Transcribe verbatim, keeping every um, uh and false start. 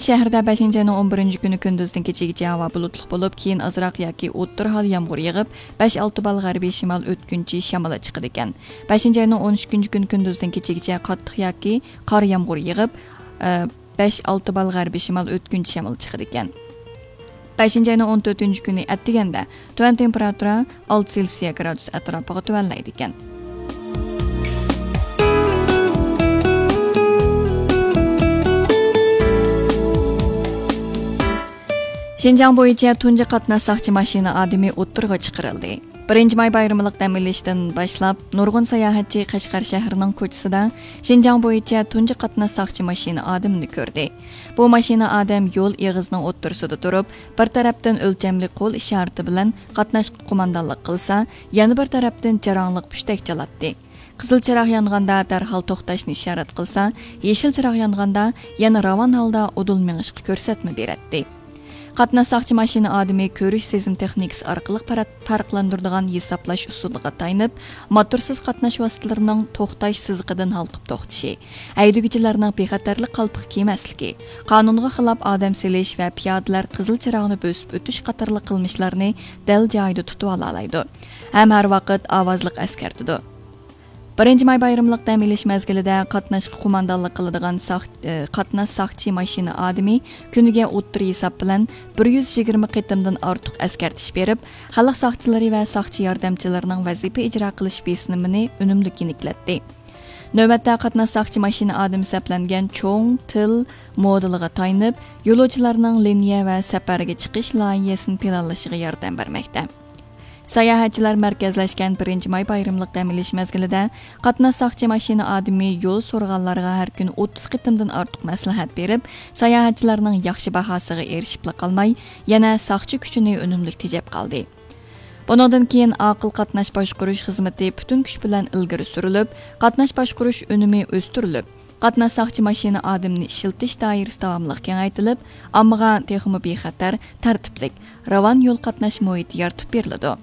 شەھەردە بەشىنچى ئاينىڭ ئون بىرىنچى كۈنى كۈندۈزدىن كېچىگىچە ھاۋا بۇلۇتلۇق بولۇپ، كېيىن ئازراق ياكى ئوتتۇرا ھال يامغۇر يېغىپ، بەش ئالتە بال غەربىي شىمال ئۆتكۈنچى شامىلى چىقىدىكەن. بەشىنچى ئاينىڭ ئون ئۈچىنچى كۈنى كۈندۈزدىن كېچىگىچە قاتتىق ياكى قار يامغۇر يېغىپ، ئە، بەش ئالتە بال غەربىي شىمال ئۆتكۈنچى شامىلى چىقىدىكەن. بەشىنچى ئاينىڭ ئون تۆتىنچى كۈنى ئەتىگەندە تۆۋەن تېمپېراتۇرا ئالتە سېلسىيە گرادۇس ئەتراپىغا تۆۋەنلەيدىكەن. شىنجاڭ بويىچە تۇنجى قاتناش ساقچى ماشىنا ئادىمى ئوتتۇرىغا چىقىرىلدى. بىرىنچى ماي بايرىملىق دەم ئېلىشتىن باشلاپ، نۇرغۇن ساياھەتچى قەشقەر شەھىرىنىڭ كوچىسىدا شىنجاڭ بويىچە تۇنجى قاتناش ساقچى ماشىنا ئادىمىنى كۆردى. بۇ ماشىنا ئادەم يول ئېغىزىنىڭ ئوتتۇرىسىدا تۇرۇپ، بىر تەرەپتىن ئۆلچەملىك قول ئىشارىتى بىلەن قاتناشقا قوماندانلىق قىلسا، يەنە بىر تەرەپتىن جاراڭلىق پۈشتەك چالاتتى. قىزىل چىراغ يانغاندا دەرھال توختاشنى ئىشارەت قىلسا، يېشىل چىراغ يانغاندا يەنە راۋان ھالدا ئۇدۇل مېڭىشقا كۆرسەتمە بېرەتتى. قاتناش ساقچى ماشىنا ئادىمى كۆرۈش سېزىم تېخنىكىسى ئارقىلىق پەرق-، پەرقلەندۈرىدىغان ھېسابلاش ئۇسۇلىغا تايىنىپ، موتورسىز قاتناش ۋاسىتىلىرىنىڭ توختاش سىزىقىدىن ھالقىپ توختىشى، ھەيدىگۈچىلەرنىڭ بىخەتەرلىك قالپىقى كىيمەسلىكى، قانۇنغا خىلاپ ئادەم سېلىش ۋە پىيادىلەر قىزىل چىراغنى بۆسۈپ ئۆتۈش قاتارلىق قىلمىشلارنى دەل جايىدا تۇتۇۋالالايدۇ ھەم ھەر ۋاقىت ئاۋازلىق ئەسكەرتىدۇ. بىرىنچى ماي بايرىملىق دەم ئېلىش مەزگىلىدە قاتناشقا قوماندانلىق قىلىدىغان ساق-، ئى، قاتناش ساقچى ماشىنا ئادىمى كۈنىگە ئوتتۇرا ھېساب بىلەن بىر يۈز يىگىرمە قېتىمدىن ئارتۇق ئەسكەرتىش بېرىپ، خەلق ساقچىلىرى ۋە ساقچى ياردەمچىلىرىنىڭ ۋەزىپە ئىجرا قىلىش بېسىمىنى ئۈنۈملۈك يېنىكلەتتى. نۆۋەتتە قاتناش ساقچى ماشىنا ئادىمى سەپلەنگەن چوڭ تىل مودېلىغا تايىنىپ، يولۇچىلارنىڭ لىنىيە ۋە سەپەرگە چىقىش لايىھەسىنى پىلانلىشىغا ياردەم بەرمەكتە. ساياھەتچىلەر مەركەزلەشكەن بىرىنچى ماي بايرىملىق دەم ئېلىش مەزگىلىدە قاتناش ساقچى ماشىنا ئادىمى يول سورىغانلارغا ھەر كۈنى ئوتتۇز قېتىمدىن ئارتۇق مەسلىھەت بېرىپ، ساياھەتچىلەرنىڭ ياخشى باھاسىغا ئېرىشىپلا قالماي، يەنە ساقچى كۈچىنى ئۈنۈملۈك تېجەپ قالدى. بۇنىڭدىن كېيىن ئاقىل قاتناش باشقۇرۇش خىزمىتى پۈتۈن كۈچ بىلەن ئىلگىرى سۈرۈلۈپ، قاتناش باشقۇرۇش ئۈنۈمى ئۆستۈرۈلۈپ، قاتناش ساقچى ماشىنا ئادىمىنى ئىشلىتىش دائىرىسى داۋاملىق كېڭەيتىلىپ، ئاممىغا تېخىمۇ بىخەتەر، تەرتىپلىك، راۋان يول قاتناش مۇھىتى يارىتىپ بېرىلىدۇ.